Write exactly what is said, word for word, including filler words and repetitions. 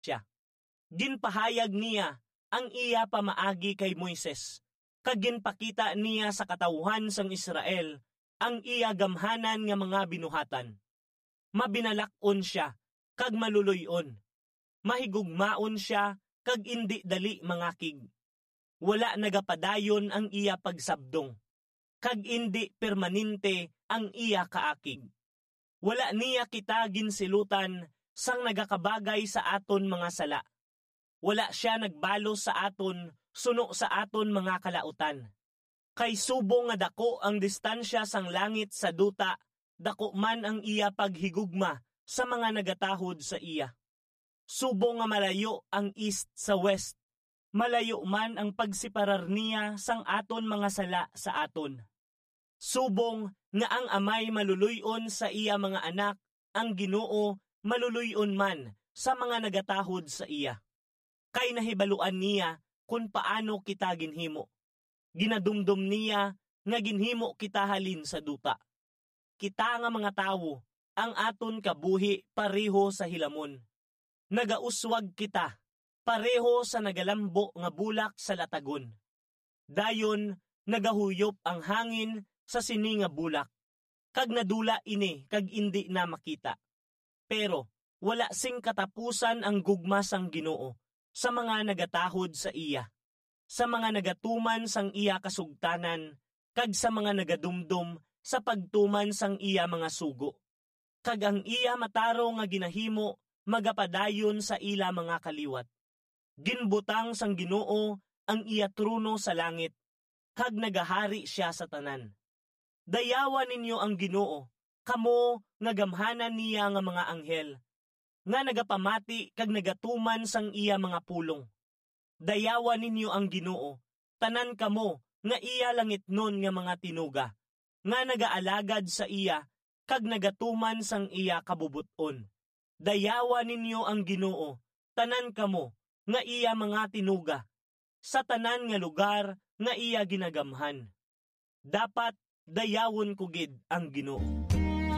sia. Ginpahayag niya ang iya pamaagi kay Moises, kag ginpakita niya sa katawuhan sang Israel ang iya gamhanan nga mga binuhatan. Mabinalak-on sia kag maluloy-on, mahigugmaon sia kag indi dali mangakig. Wala nagapadayon ang iya pagsabdong, kag indi permanente ang iya kaakig. Wala niya kita ginsilutan sang nagakabagay sa aton mga sala. Wala sia nagbalos sa aton suno sa aton mga kalautan. Kay subong nga daku ang distansya sang langit sa duta, daku man ang iya paghigugma sa mga nagatahod sa iya. Subong nga malayo ang east sa west, malayo man ang pagseparar niya sang aton mga sala sa aton. Subong nga ang amay maluloy-on sa iya mga anak, ang Ginoo maluloy-on man sa mga nagatahod sa iya. Kay nahibaluan niya kon paano kita ginhimo. Ginadumdom niya nga ginhimo kita halin sa duta. Kita nga mga tawo, ang aton kabuhi pareho sa hilamon. Nagauswag kita, pareho sa nagalambo nga bulak sa latagon. Dayon nagahuyop ang hangin sa sini nga bulak, kag nadula ini kag indi na makita. Pero wala sing katapusan ang gugma sang Ginoo sa mga nagatahod sa iya, sa mga nagatuman sang iya kasugtanan, kag sa mga nagadumdom sa pagtuman sang iya mga sugo. Kag ang iya matarong nga ginahimo magapadayon sa ila mga kaliwat. Ginbutang sang Ginoo ang iya trono sa langit, kag nagahari sia sa tanan. Dayawa ninyo ang Ginoo, kamo nga gamhanan niya nga mga anghel, nga nagapamati kag nagatuman sang iya mga pulong. Dayawa ninyo ang Ginoo, tanan kamo nga iya langitnon nga mga tinuga, nga nagaalagad sa iya kag nagatuman sang iya kabubot-on. Dayawa ninyo ang Ginoo, tanan kamo nga iya mga tinuga, sa tanan nga lugar nga iya ginagamhan. Dapat dayawon ko gid ang Ginoo.